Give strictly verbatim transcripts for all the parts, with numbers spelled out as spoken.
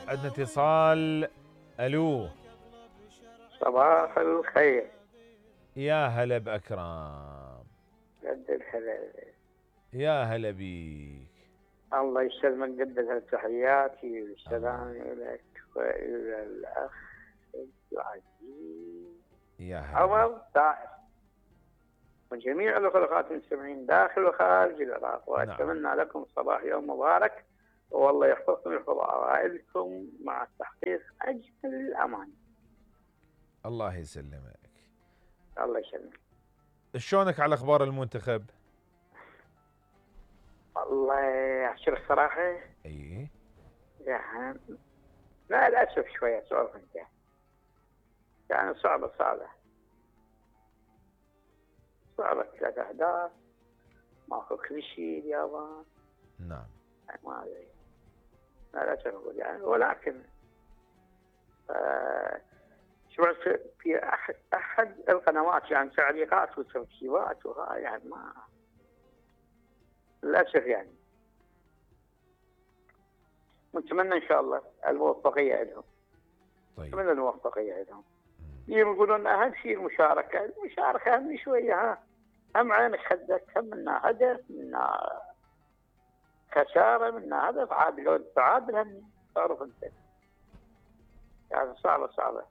عندنا اتصال. الو، صباح الخير. يا هلا باكرم. قد الهلا. يا هلا بيك. الله يسلمك. قدم التحياتي والسلام لك والى الاخ العزيز يا هلا عمر داعش وجميع الاخوات المستمعين داخل وخارج العراق، واتمنى نعم. لكم صباح يوم مبارك، والله يحفظكم ويحفظ عوائلكم مع تحقيق اجمل الامان. الله يسلمك. الله يسلمك. شلونك على اخبار المنتخب؟ والله احكي لك صراحه. اي يعني مع الاسف شويه صعب انت. يعني صعبه صعبه صعبه ثلاث اهداف، ماكو كل شيء اليابان. نعم. ما ادري مع الاسف اقول يعني، ولكن آه شفت في احد احد القنوات يعني تعليقات وتركيبات وهاي يعني ما للاسف يعني. نتمنى ان شاء الله الموفقيه لهم. طيب. نتمنى الموفقيه لهم. يقولون اهم شيء المشاركه، المشاركه اهم شويه. ها هم عينك خدك، هم منا هدف، منا خساره، منا هدف، عاد لو تعادل هم تعرف انت. يعني صعبه صعبه.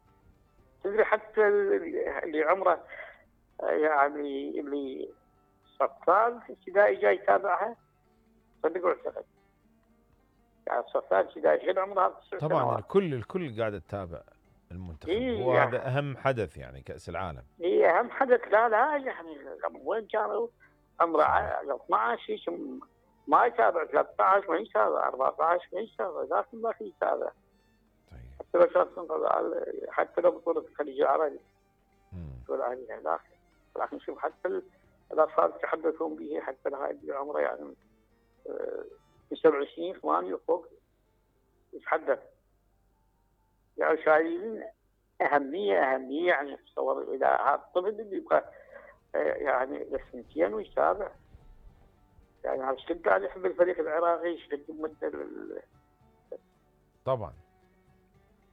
تدري حتى اللي عمره يعني اللي صفان في ابتدائي جاي يتابعها، صدق واعتقد. يعني صفان ابتدائي غير عمرها تسع طبعا سنوات. الكل الكل قاعد تتابع المنتخب. إيه وهذا يعني اهم حدث يعني كأس العالم. اي اهم حدث. لا لا يعني وين كانوا عمره اثنا عشر ما يتابع، ثلاثة عشر ما يتابع، أربعة عشر ما يتابع، لكن ما في يتابع. طيب. حتى لو كانت حتى لو بطولة الخليج العربي بطولة عليها، لكن لكن شوف حتى الاطفال يتحدثون به، حتى هاي اللي عمره يعني في سبع سنين ثمانية وفوق يتحدث. يعني شايلين أهمية أهمية يعني تصور إذا هذا الطفل اللي يبقى يعني لسنتين ويتابع. يعني هذا الشيء قاعد يحب الفريق العراقي يشتد مدة. طبعا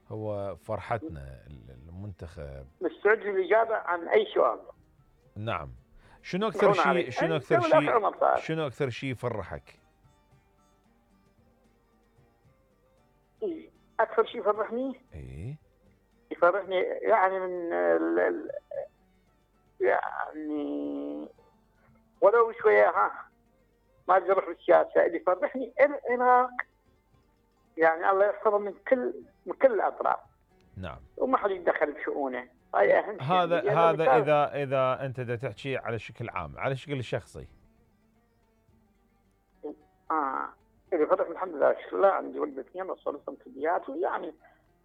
هو فرحتنا المنتخب. مستعد للإجابة عن أي سؤال. نعم. شنو أكثر شيء شنو أكثر شيء شنو أكثر شيء يفرحك؟ أكثر شيء يفرحني؟ إيه يفرحني يعني من ال ال يعني ولو شوية ها ما أجرح بالسياسة. اللي يفرحني العراق يعني الله يحفظه من كل من كل الأطراف. نعم. وما حد يتدخل بشؤونه. هاي أهم شيء. هذا هذا إذا إذا أنت دا تحكي على شكل عام، على شكل شخصي. آه اللي يفرحني الحمد لله شكرا الله عندي ولد اثنين وصلتهم كليات، ويعني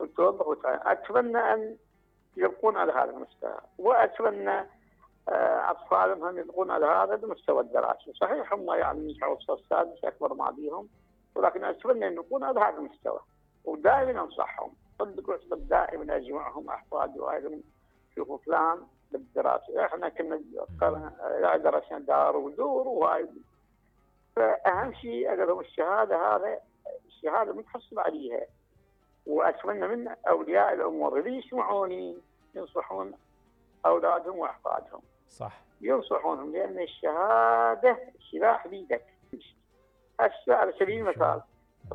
التوظف وتعين. أتمنى أن يبقون على هذا المستوى، وأتمنى أطفالهم هم يبقون على هذا المستوى الدراسي. صحيح هم يعني يسعوا الصف السادس أكبر ما بيهم، ولكن أتمنى أن يكون على هذا المستوى. ودائما أنصحهم، صدق واعتقد دائما أجمعهم أحفاد وأهلهم شوفوا فلان بالدراسة. إحنا كنا درسنا دار ودور وهاي. فأهم شيء أقدم الشهادة، هذا الشهادة متحصل عليها. وأتمنى من أولياء الأمور اللي يسمعوني ينصحون أولادهم وأحفادهم. صح. ينصحونهم، لأن الشهادة سلاح بيدك. هسه على سبيل المثال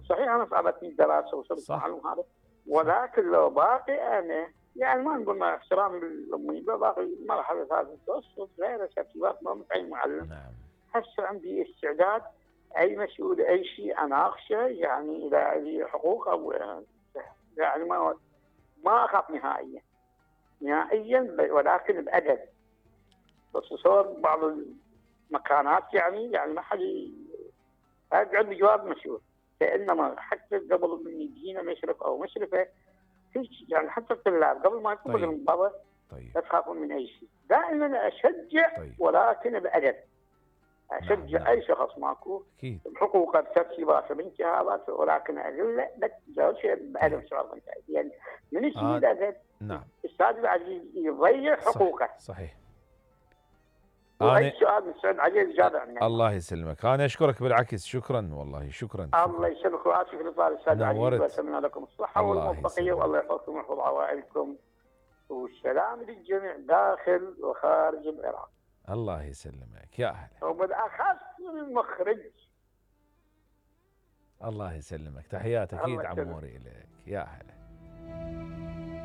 صحيح أنا صعبتني الدراسة وصرت معلوم هذا، ولكن لو باقي أنا يعني ما نقول مع احترامي للأمي، لو باقي مرحلة هذا المتوسط غير ترتيبات ما متعين معلم. نعم. هسه عندي استعداد أي مسؤول أي شيء أناقشه، يعني إذا لي حقوق أو يعني ما ما أخاف نهائيا نهائيا، ولكن بأدب. بخصوصا بعض المكانات يعني يعني ما حد أقعد بجواب مسؤول، فإنما حتى قبل من يجينا مشرف أو مشرفة يعني حتى الطلاب قبل ما يكون لهم بابا لا تخافون من أي شيء. دائما أشجع طيب. ولكن بأدب. أشجع نعم. أي شخص ماكو بحقوقه بترتيباته بانتهاكاته، ولكن أقول له لا تجاوب شيء بأدب. شعور أنت يعني من يسمي آه. الأدب. نعم. الأستاذ العزيز يضيع حقوقه. صحيح. واي سؤال مستعد عليه الاجابه عنه. الله يسلمك، انا اشكرك بالعكس، شكرا والله شكرا. الله يسلمك ويعافيك الاطاله استاذ عزيز، واتمنى لكم الصحه والموفقيه، والله يحفظكم ويحفظ عوائلكم، والسلام للجميع داخل وخارج العراق. الله يسلمك يا اهلا. وبالاخص المخرج. الله يسلمك، تحيات اكيد عموري لك يا اهلا.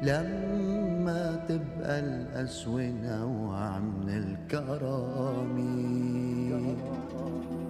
لما تبقى الأسوة نوع من الكرامي